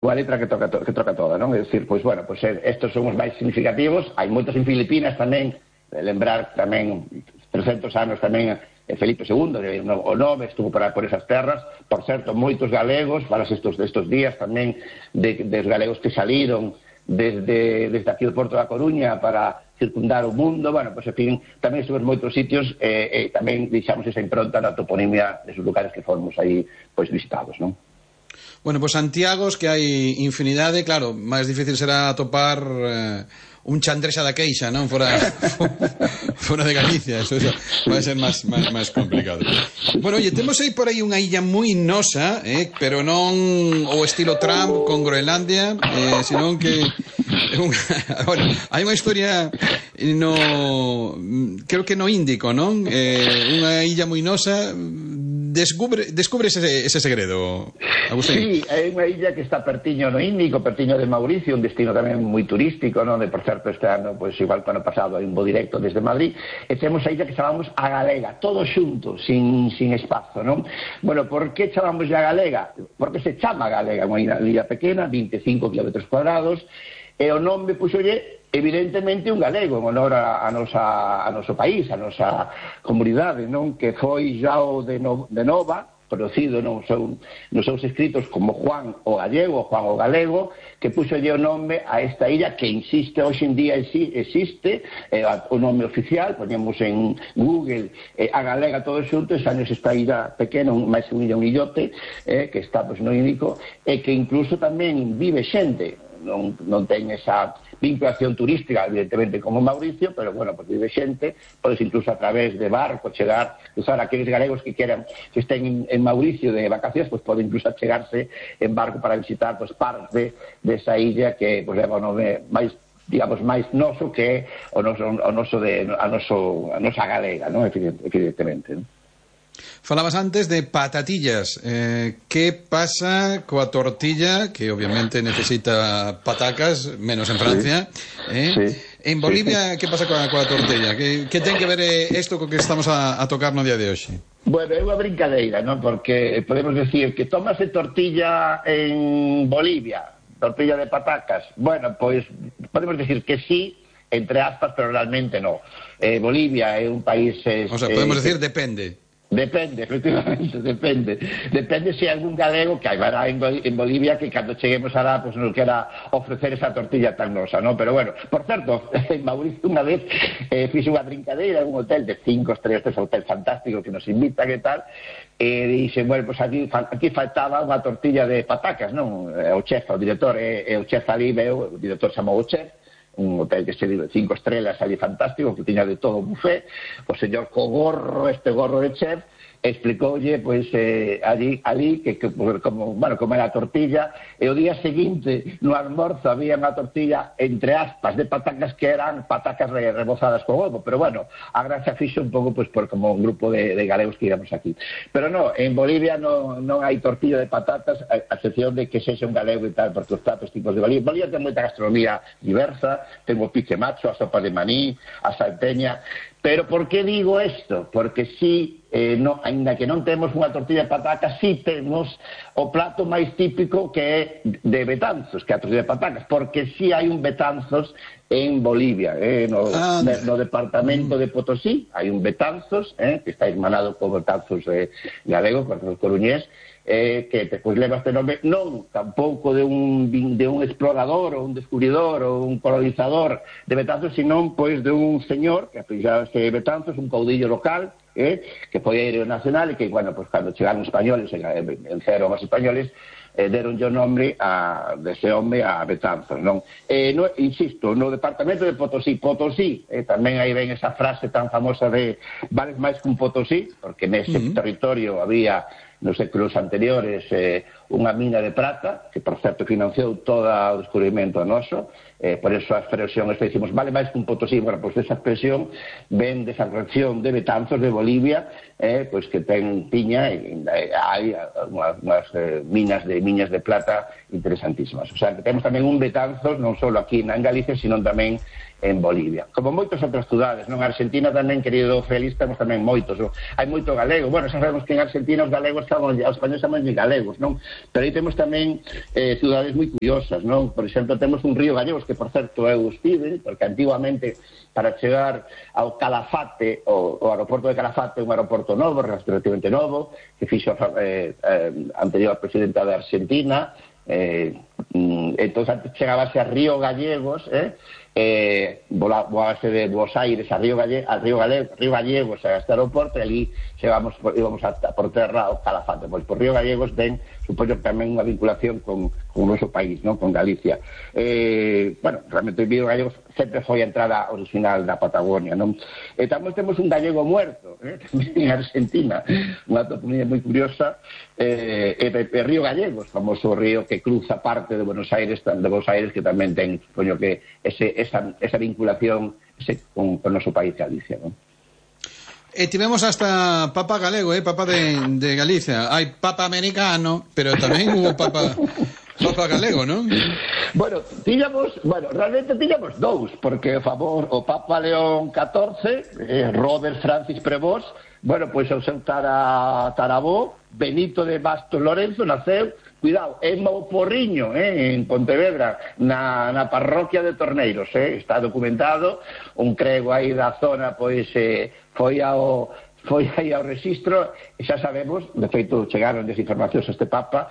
unha letra que troca toda, non? É dicir, pois, bueno, pois estes son os máis significativos, hai moitos en Filipinas tamén, lembrar tamén 300 anos tamén Felipe II, o nome estuvo por esas terras, por certo, moitos galegos, falas estes días tamén dos galegos que saliron desde aquí do Porto da Coruña para circundar o mundo, bueno, pois, en fin, tamén estuve en moitos sitios e tamén deixamos esa impronta na toponimia desos lugares que fomos aí, pois, visitados, non? Bueno, pois Santiagos, que hai infinidade, claro, máis difícil será atopar un Chandresa da Queixa, non? Fora de Galicia, eso vai ser máis complicado. Bueno, oye, temos aí por aí unha illa moi nosa, pero non o estilo Trump con Groenlandia, senón que bueno, hai unha historia creo que no Índico, non? Unha illa moi nosa. Descubres ese segredo, Agustín? Sí, é unha illa que está pertiño no Índico, pertiño de Mauricio, un destino tamén moi turístico, non? Por certo, este ano, pois igual que ano pasado, hai un voo directo desde Madrid, e temos a illa que chamamos a Galega, todos xuntos, sin espazo, non? Bueno, por que chamamos a Galega? Porque se chama Galega, unha illa pequena, 25 km cuadrados, e o nome puxolle evidentemente un galego en honor a noso país, a nosa comunidade, non? Que foi João de Nova, conocido nos seus escritos como Juan o Gallego, Juan o Galego, que puxolle o nome a esta illa que insiste, hoxe en día existe, o nome oficial, poñemos en Google a Galega todo xunto, e años esta illa pequena, máis un illote, que está no Índico, e que incluso tamén vive xente, non ten esa vinculación turística, evidentemente, como Mauricio, pero, bueno, pues vive xente, podes incluso a través de barco chegar, usar aqueles galegos que queran, que estén en Mauricio de vacacións, pues poden incluso chegarse en barco para visitar, pues, parte desa illa que, pues, leva o nome máis, digamos, máis noso que a nosa galega, non? Evidentemente, non? Falabas antes de patatillas. Que pasa coa tortilla, que obviamente necesita patacas, menos en Francia, Sí. En Bolivia, que pasa coa tortilla? Que ten que ver isto co que estamos a tocar no día de hoxe? Bueno, é unha brincadeira, non? Porque podemos decir que tomase tortilla en Bolivia, tortilla de patacas. Bueno, pois podemos decir que sí, entre aspas, pero realmente no. Bolivia é un país... O sea, podemos decir depende. Depende, efectivamente, depende. Depende se hai algún galego que haberá en Bolivia que cando cheguemos alá, pues nos quera ofrecer esa tortilla tan nosa, ¿no? Pero bueno, por certo, en Mauricio unha vez fixe unha brincadeira en un hotel de 5 estrellas, este hotel fantástico que nos invitan e tal, e dixen, bueno, pues aquí faltaba unha tortilla de patacas, non? O chef, o director, e o chef ali veo, o director chamou o chef, un hotel que se dice 5 estrellas ali fantástico, que tiña de todo un buffet, o señor co gorro, este gorro de chef, explicoulle, pois, ali que como era a tortilla, e o día seguinte, no almorzo, había unha tortilla, entre aspas, de patacas que eran patacas rebozadas con ovo, pero bueno, a gracia fixo un pouco, pois, por como un grupo de galegos que íbamos aquí. Pero no, en Bolivia non hai tortilla de patatas, a excepción de que sexa un galego e tal, porque os platos tipos de Bolivia. Bolivia ten moita gastronomía diversa, ten o pique macho, a sopa de maní, a salteña. Pero por que digo isto? Porque si, ainda que non temos unha tortilla de patacas, si temos o plato máis típico que é de Betanzos, que é a tortilla de patacas, porque si hai un Betanzos en Bolivia, no departamento de Potosí, hai un Betanzos, que está hermanado co Betanzos galego, con o coruñés, que despois leva este nome non tampouco de un explorador ou un descubridor ou un colonizador de Betanzos, sino pois de un señor que apellidase Betanzos, un caudillo local, que foi héroe nacional e que, bueno, pues cando chegaron españoles, venceron os españoles, deron o nome dese home a Betanzos, non? Insisto, no departamento de Potosí, tamén aí ven esa frase tan famosa de vales máis que un Potosí, porque nese territorio había nos séculos anteriores unha mina de prata, que por certo financiou todo o descubrimento noso, por eso a expresión esta dicimos vale máis que un Potosí. Bueno, pois esa expresión ven desa región de Betanzos de Bolivia, pois que tiña hai unhas minas de plata interesantísimas. O sea, que temos tamén un Betanzos non só aquí en Galicia, sino tamén en Bolivia. Como moitas outras cidades, non? Argentina tamén, querido Félix, temos tamén moitos, non? Hai moito galego. Bueno, xa sabemos que en Argentina os galegos os españoles chamamos de galegos, non? Pero aí temos tamén cidades moi curiosas, non? Por exemplo, temos un río Gallegos que, por certo, eu estive, porque antiguamente para chegar ao Calafate, o aeroporto de Calafate, un aeroporto novo, relativamente novo, que fixo anterior presidenta de Argentina. Entón antes chegabase a Río Gallegos, volábase de Buenos Aires a Río Gallegos a este aeroporto, e ali íbamos por terra ao Calafate. Pois por Río Gallegos ten, supoño, tamén unha vinculación con o noso país, non? Con Galicia. Bueno, realmente o Río Gallegos sempre foi a entrada original da Patagonia, non? E tamén temos un gallego muerto, tamén en Argentina, unha toponimia moi curiosa, Río Gallegos, famoso río que cruza parte de Buenos Aires, que tamén ten, supoño que esa vinculación con o noso país Galicia, non? E tivemos hasta Papa galego, Papa de Galicia. Hai Papa americano, pero tamén hubo Papa galego, non? Bueno, realmente tiñamos dous, porque o Papa León XIV, Robert Francis Prevost, bueno, pois o seu tarabó, Benito de Bastos Lorenzo, naceu, cuidado, en Mouporriño, en Pontevedra, na parroquia de Torneiros, está documentado, un crego aí da zona, pois foi aí ao registro, e xa sabemos, de feito chegaron desinformacións a este Papa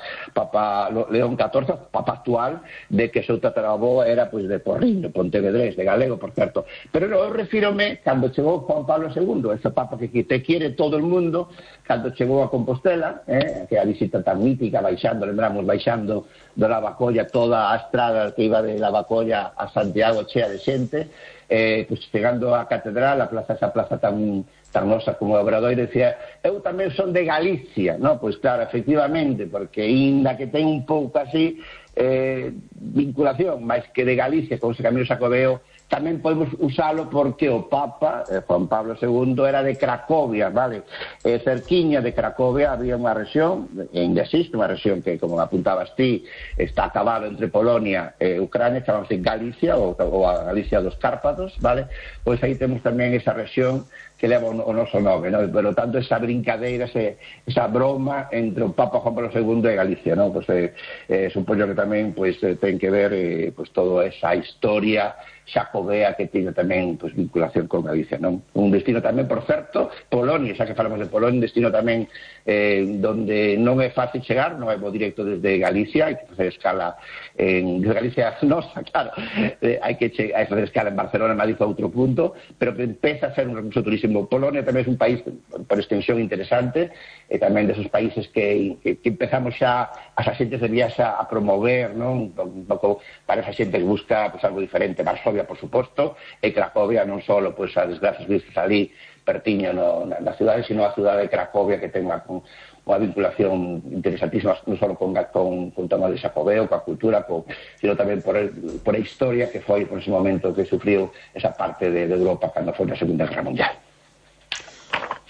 León XIV, Papa actual, de que o seu tataravó era pois de Porriño, pontevedrés, de galego, por certo. Pero eu refírome cando chegou Juan Pablo II, ese Papa que te quiere todo el mundo, cando chegou a Compostela, que a visita tan mítica, lembramos, baixando do Lavacolla, toda a estrada que iba de Lavacolla a Santiago chea de xente, pois chegando á catedral, esa plaza tan nosa como o Obradoiro, decía, eu tamén son de Galicia, non? Pois claro, efectivamente, porque inda que ten un pouco así vinculación, máis que de Galicia con ese Camilo Xacobeo, tamén podemos usalo porque o Papa, Juan Pablo II, era de Cracovia, vale? Cerquiña de Cracovia había unha rexión, ainda existe unha rexión que, como apuntabas ti, está acabado entre Polonia e Ucrania, chamamos Galicia, ou a Galicia dos Cárpatos, vale? Pois aí temos tamén esa rexión que leva o noso nome, non? Pero tanto esa brincadeira, esa broma entre o Papa Juan Pablo II e Galicia, non? Pois supoño que tamén ten que ver toda esa historia xacobea que tiña tamén vinculación con Galicia, non? Un destino tamén, por certo, Polonia, xa que falamos de Polonia, un destino tamén donde non é fácil chegar, non é bo directo desde Galicia, hai que facer escala en Galicia nosa, claro, hai que facer escala en Barcelona, Madrid ou outro punto, pero que empeza a ser un recurso turísimo. Polonia tamén é un país por extensión interesante, e tamén desos países que empezamos xa as xentes de viaxa a promover, non? Un pouco para esa xente que busca algo diferente. Varsovia, por suposto, e Cracovia non só as desgracias vistas ali pertiño na cidade, sino a cidade de Cracovia, que ten unha vinculación interesantísima non só con o tema de Xacobeo, coa cultura, sino tamén por a historia que foi por ese momento que sufriu esa parte de Europa cando foi na Segunda Guerra Mundial.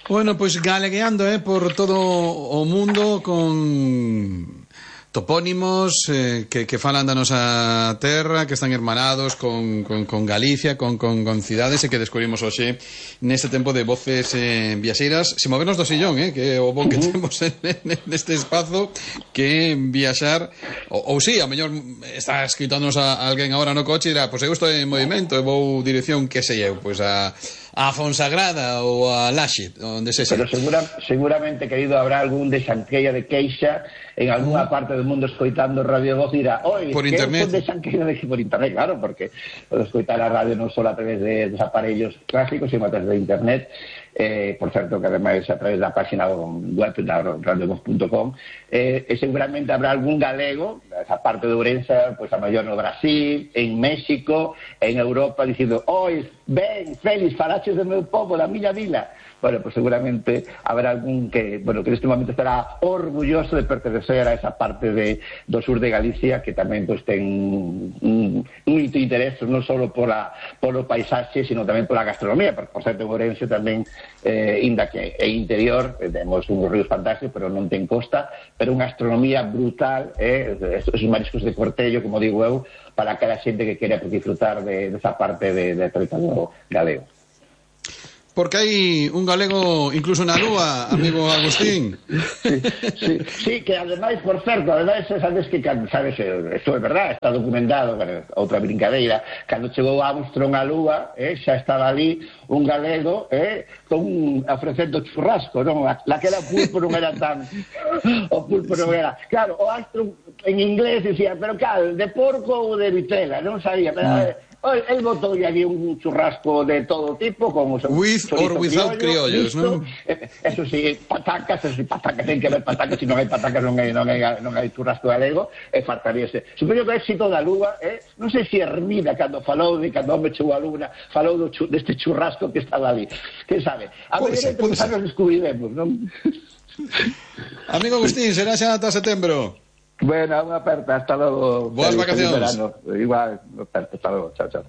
Bueno, pois galegueando por todo o mundo con topónimos que falan da nosa terra, que están hermanados con Galicia, con cidades, e que descubrimos hoxe neste tempo de voces viaxeiras, se movernos do sillón, que é o bo que temos neste espazo, que viaxar, ou si, a mellor está escritóndonos a alguén agora no coche e dirá, pois eu estou en movimento e vou dirección, que sei eu, pois a Fonsagrada ou a Laxe, onde se. Pero seguramente, querido, habrá algún de Xanqueira de Queixa en algunha parte do mundo escoitando Radio Voz, dirá, oi, por que internet. son de Xanqueira de por internet, claro, porque podo escoitar a radio non só a través dos aparellos clásicos, sino a través de internet, por certo que ademais a través da página web da radiovoz.com, e seguramente habrá algún galego, esa parte de Ourense, pois a maior no Brasil, en México, en Europa, dicindo, oi, ben, Félix, falaches do meu povo, da miña vila. bueno, pues seguramente habrá algún que neste momento estará orgulloso de pertenecer a esa parte do sur de Galicia que tamén pues ten un interés non só polo paisaxe, sino tamén pola gastronomía, porque por certo en Ourense tamén inda que é interior, temos uns ríos fantásticos, pero non ten costa, pero unha gastronomía brutal, esos mariscos de Cortello, como digo eu, para aquela xente que quere disfrutar desa parte de territorio galego. Porque hai un galego incluso na Lúa, amigo Agustín. Sí, que ademais, por certo, sabes que, sabes, isto é verdad, está documentado, outra brincadeira, cando chegou Armstrong á Lúa, xa estaba ali un galego, ofrecendo churrasco, non? Aquela pulpo non era tan... O pulpo non era... Claro, o Armstrong en inglés dicía, pero cal, de porco ou de vitela, non sabía, pero... El botou aquí un churrasco de todo tipo, como with or without criollos, non? Eso sí, patacas, ten que haber patacas, se non hai patacas non hai churrasco galego, e faltaríase. Supoño que o éxito da Lúa, non sei se Hermida, cando falou de cando home chegou a Lúa, falou deste churrasco que estaba ali. Que sabe? A ver, nos descubriremos, non? Amigo Agustín, será xa ata setembro. Bueno, unha aperta, hasta logo. Boas vacacións. Igual, aperta, hasta logo, chao, chao.